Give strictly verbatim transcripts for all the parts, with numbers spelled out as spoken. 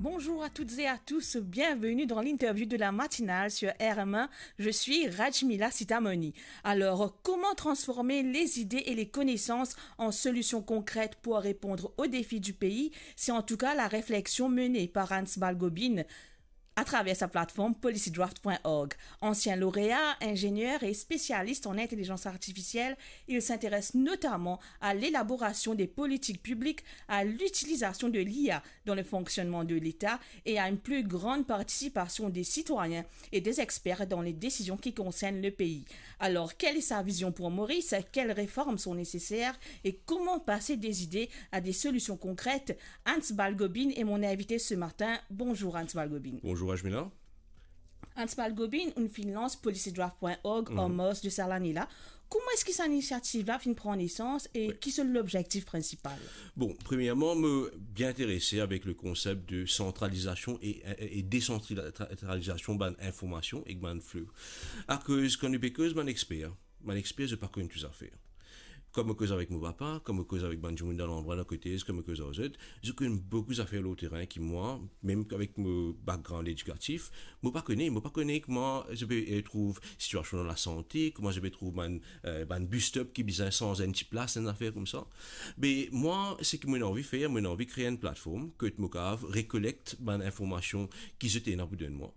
Bonjour à toutes et à tous, bienvenue dans l'interview de la matinale sur R M un. Je suis Rajmila Sitamoni. Alors, comment transformer les idées et les connaissances en solutions concrètes pour répondre aux défis du pays ? C'est en tout cas la réflexion menée par Hans Balgobin à travers sa plateforme policydraft point org. Ancien lauréat, ingénieur et spécialiste en intelligence artificielle, il s'intéresse notamment à l'élaboration des politiques publiques, à l'utilisation de l'I A dans le fonctionnement de l'État et à une plus grande participation des citoyens et des experts dans les décisions qui concernent le pays. Alors, quelle est sa vision pour Maurice ? Quelles réformes sont nécessaires ? Et comment passer des idées à des solutions concrètes ? Hans Balgobin est mon invité ce matin. Bonjour Hans Balgobin. Bonjour Rajmila. Hans Balgobin, ou finn lans policydraft point org an mars de sa lane la. Kouma eski sa inisiativ la finn pran nesans e ki se lobzektif prinsipal? Bon, premièrman, mo bien interese avek le konsep de santralizasion e, e, e desantralizasion bann informasion ek bann fle. Akoz kan nou pe koz bann exper, bann exper, zot pa konn tou zafer. Kan mo koz avek mo papa, kan mo koz avek bann dimoun dan landrwa dan kote, kan mo koz ar zot, zot konn boukou zafer lor terin ki mwa, mem avek mo background edikatif, mo pa kone, mo pa kone kouma zot pe, eh, trouv sitiasion dan lasante, kouma zot pe trouv bann, eh, bann bus stop ki bizin sanz enn ti plas, enn zafer koumsa. Be mwa, seki mo ena anvi fer, mo ena anvi kree enn platform kot mo kav rekolekt bann informasion ki zot ena pou donn mwa.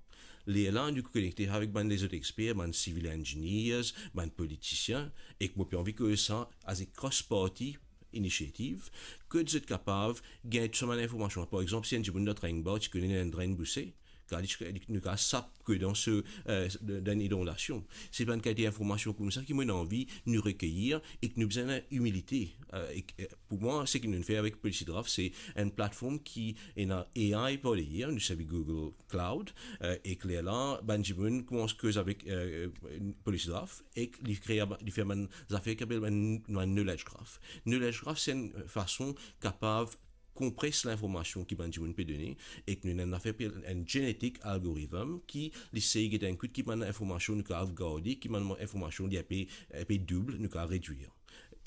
Lerla nou konekte avek bann lezot exper, bann civil engineers, bann politisien, ek mo pe anvi koz sa as a cross-party initiative, kot zot kapav gagn tou sa bann informasion. Par exanp, si enn dimoun dan Tringbah ti kone enn drenn bouse, kan li, li, nou kav sap ke dan se, eh, dan inondasion. Se bann kalite informasion koumsa ki mo ena anvi nou rekeyir ek nou bizin ena imilite. Eh, ek, eh, pou mwa, seki nou fer avek policydraft, se enn platform ki ena A I par deryer, nou servi Google Cloud, eh, ek lerla, bann dimoun koumans koz avek, eh, policydraft, ek li kre, li fer bann zafer ki apel bann, bann knowledge graph. Knowledge graph, se enn fason kapav konpres linformasion ki bann dimoun pe done, ek nou ena enn zafer apel enn genetic algorithm ki li sey get enn kout ki bann informasion nou kav garde, ki bann informasion li enpe, enpe doub, nou kav redwir.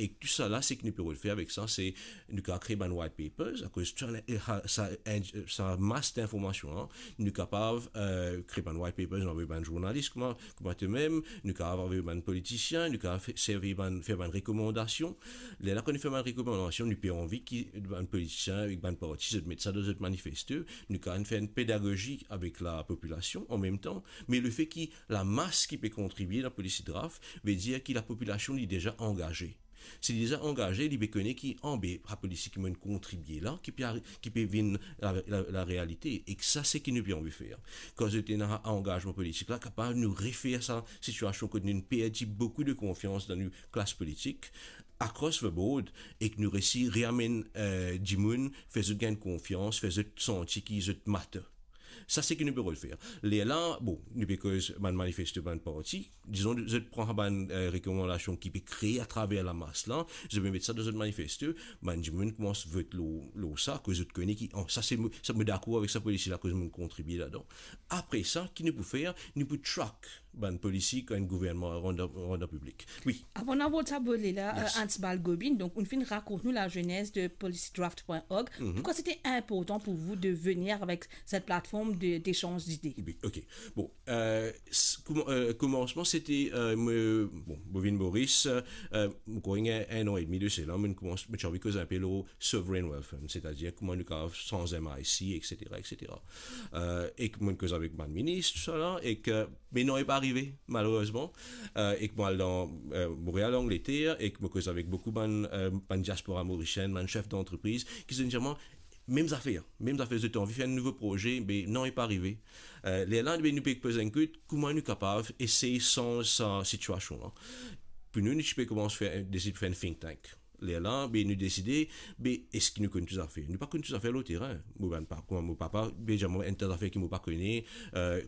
Ek tou sa la, seki nou pe rod fer avek sa, se nou kav kree bann white papers, akoz tou sa, eh, sa, eh, sa mas dinformasion la, nou kapav, eh, kree bann white papers, nou avoy bann zournalis, kouma, kouma to mem, nou kav avoy bann politisien, nou kav fe-, servi bann, fer bann rekomandasion. Lerla kan nou fer bann rekomandasion, nou pe anvi ki bann politisien ek bann parti, zot met sa dan zot manifesto, nou kav fer enn pedagozi avek lapopilasion an mem tan, me lefe ki lamas ki pe kontribie dan policydraft, vedir ki lapopilasion li deza angaze. Si li deza angaze, li pe kone ki, anbe, sa politik ki mo'nn kontribie la, ki pe ari-, ki pe vinn la, la, larealite. Ek sa, seki nou pe anvi fer. Kan zot ena angazman politik la, kapav nou refer sa sitiasion kot nou perdi boukou de konfians dan nou klas politik, across the board, ek nou resi reamenn, eh, dimoun, fer zot gagn konfians, fer zot santi ki zot matter. Sa, seki nou pe rod fer. Lerla, bon, nou pe koz bann manifesto bann parti, dizon, zot pran bann, eh, rekomandasion ki pe kree atraver lamas la, zot pe met sa dan zot manifesto, bann dimoun koumans vot lor, lor sa, akoz zot kone ki, oh, sa se mo, sa mo dakor avek sa polisi la, akoz mo'nn kontribie ladan. Apre sa, ki nou pou fer? Nou pou track bann polisi kan enn gouvernman rann dan, rann dan piblik. Wi. Avan nou abord sa volet la, eh, Hans Balgobin, donk, ou finn rakont nou lazenez de policydraft point org. Pourquoi c'était important pour vous de venir avec cette plateforme de, d'échange d'idées? Wi, ok. Bon, eh, s-, kouman-, eh, koumansman, sete, eh, mo, bon, mo vinn Moris, eh, mo krwar enn an edmi de sela, mo koumans, mo ti anvi koz enpe lor sovereign wealth fund, setadir kouma nou kav sanz M I C, et cetera, et cetera. Eh, ek mo'nn koz avek bann minis, tou sa la, ek, eh, me non, li pa arive, malerezman. Eh, ek mo al dan, eh, Montréal, Angleterre, ek mo koz avek boukou bann, eh, bann diaspora morisien, bann sef dantrepriz, ki zot dir mwa, mem zafer, mem zafer, zot anvi fer enn nouvo proze, me non, li pa arive. Eh, lerla, be, nou pe poz enn kout, kouma nou kapav esey sanz sa sitiasion la? Pou nou, nou ti pe koumans fer, deside fer enn think tank. Lerla, be, nou deside, be, eski nou konn tou zafer? Nou pa konn tou zafer lor terin. Mo bann pa-, kouma mo papa, be, dir mwa enn ta zafer ki mo pa kone, eh,